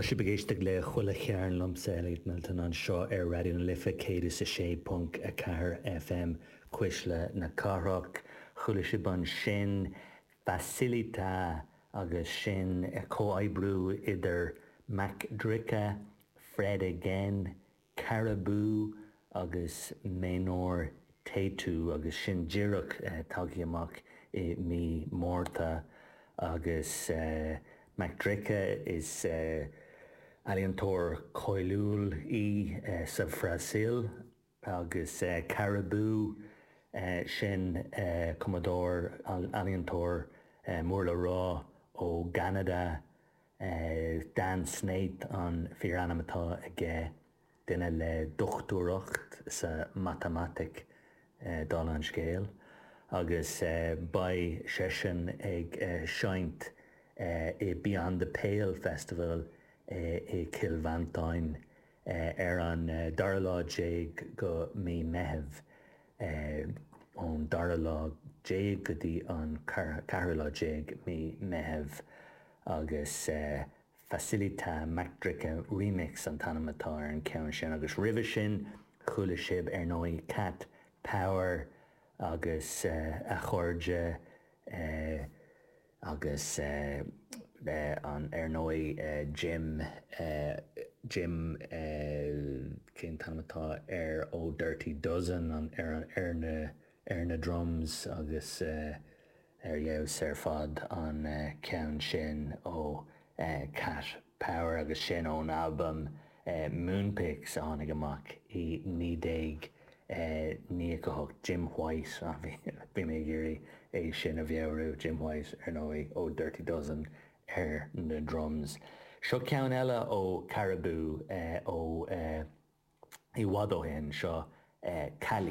Tá sibh ag éisteacht le Chuile Chearn liomsa, Elliot Milton, anseo ar Raidió na Life 106.4 FM, Cuisle na Cathrach. Chuala sibh ansin Facilita agus sin comhoibriú idir Mac Drika, Fred Again, Caribou agus Maynor Tatu agus sin díreach tagtha amach i mí Márta agus Mac Drika is ealaíontóir cáiliúil í sa Bhrasaíl agus Caribou sin cumadóir, ealaíontóir mór le rá ó gCeanada. Dan Snaith an fíorainm atá aige, duine le dochtúireacht sa matamaitic, dála an scéil, agus beidh seisean ag seinnt i Beyond the Pale Festival i gCill Mhantáin ar an dara lá déag go mí Meitheamh. ón dara lá déag go dtí an ceathrú lá déag mí Meitheamh agus Facilita Mac Drika Remix an t-ainm atá ar an cheann sin agus roimhe sin chuala sibh ar ndóigh Cat Power agus a chairde Agus an, ar ndóigh, Jim, Jim, cén t-ainm atá air ó Dirty Dozen, an, ar, ar na, ar na drums agus ar fheabhas ar fad an ceann sin ó Cat Power agus sin ón albam Moonpix a tháinig amach i 1998. Jim White, bhí mé ag iarraidh é sin a mheabhrú, Jim White, ar ndóigh, ó Dirty Dozen ar na drums. Seo ceann eile ó Caribou ó i bhfad ó shin, seo Cali.